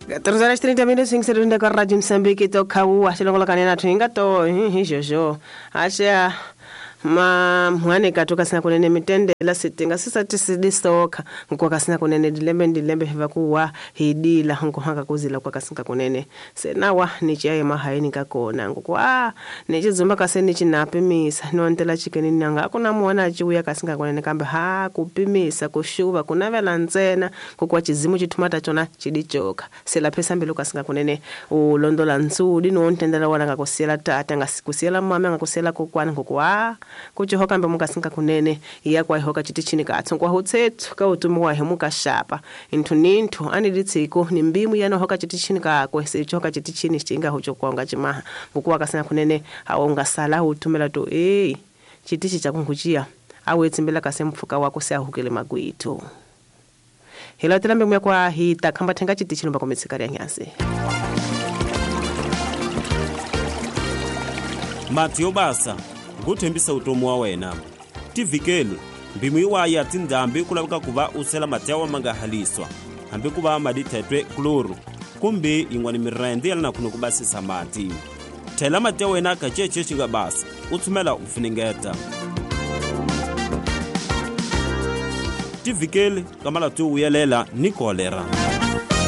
14 horas 30 minutos 5 kwa Radio Msambiki tokhauwa xilongolokane na thwinga to hi xoxo axa ma mhwane katu kasina kunene mitendela sitinga sisatisidisoka nkuwa kasina kunene dilembe ndilembe hiva kuwa hidila nkuhanga kuzila kwa kasinka kunene senawa nichiyaye mahayini kakona nkukuwa nichizumba kase nichinapimisa nontela chikeni nanga akuna muwana achiuya kasinka kunene kambe ha kupimisa kushuva kunavela ntsena kukuwa chizimu chithumata chona chidichoka selaphesa mbilu kasinka kunene ulondola ntsudi nontendela wana ngakusiyela tata ngakusiyela mama ngakusiyela kokwana nkukuwa kuchihoka mbe mukasinka kunene iya kwaihoka chitichini katso nkwahutsetsu kautumi wahe mukashapa inthu ninthu aniditsiko ni mbimu yanohoka chitichini kakwe sichohoka chitichini chinga huchokwanga chimaha ngukuwa kasina kunene awo ungasala utumela to ei chitichi chakunkuchiya awetsimbela kase mpfuka wako seahukele magwitu hilatela mbemu yakwa hita khamba thenga chitichi lomba kometsika lya nyasi Mati yo basa nguthembisa utomi wa wena tivhikeli mbimu iwayi ya tindhambi ku laveka ku va u sela mati ya wa ma nga haliswa hambi ku va madithetwe kloro kumbe yin'wana mirende ya le na khuni ku basisa mati thela mati ya wena ka cece xi nga basa u tshumela u funengeta tivhikeli ka malati yo vuyelela ni kolera.